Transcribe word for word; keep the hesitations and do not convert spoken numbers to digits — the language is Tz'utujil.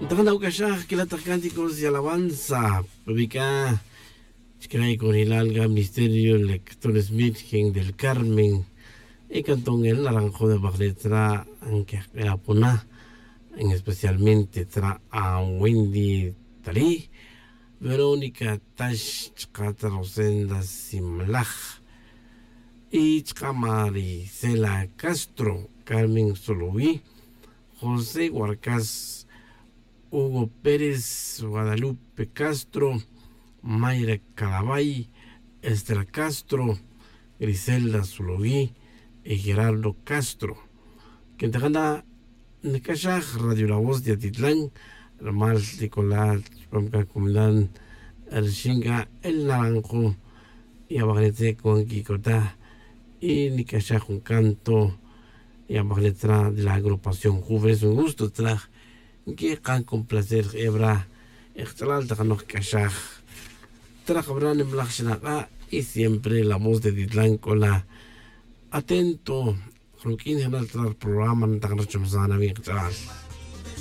Taq nawc'axaj quila' taq cánticos y alabanza pubic'a chicra' y conilal ga ministerio lectores virgen del carmen. Y cantón el naranjo de bajle tzra' nquejk'ira' puna en especialmente tzra' a wendy talí, verónica tax chka' tzra' rosenda simlaj y chka' marisela castro, carmen soloví, josé guarcas, hugo pérez, guadalupe castro, mayra calabay, esther castro, griselda soloví, y gerardo castro. Quintajana nic'axaj radio la voz de atitlan, rumal nic'ola chupam c'a comunidad rixin c'a el naranjo. Y abajle tzre' cuan quic'ota y nic'axaj jun canto. Y abajle tzra' de la agrupación juve es un gusto tzra' nquikan con placer jebra. Ekch'alal tak noj c'axaj trak bra nimlaj xnak'a'. Y siempre la voz de titlan c'ola atento ruq'uin jenal trak programa ntak nrachomsan awi' kch'alal.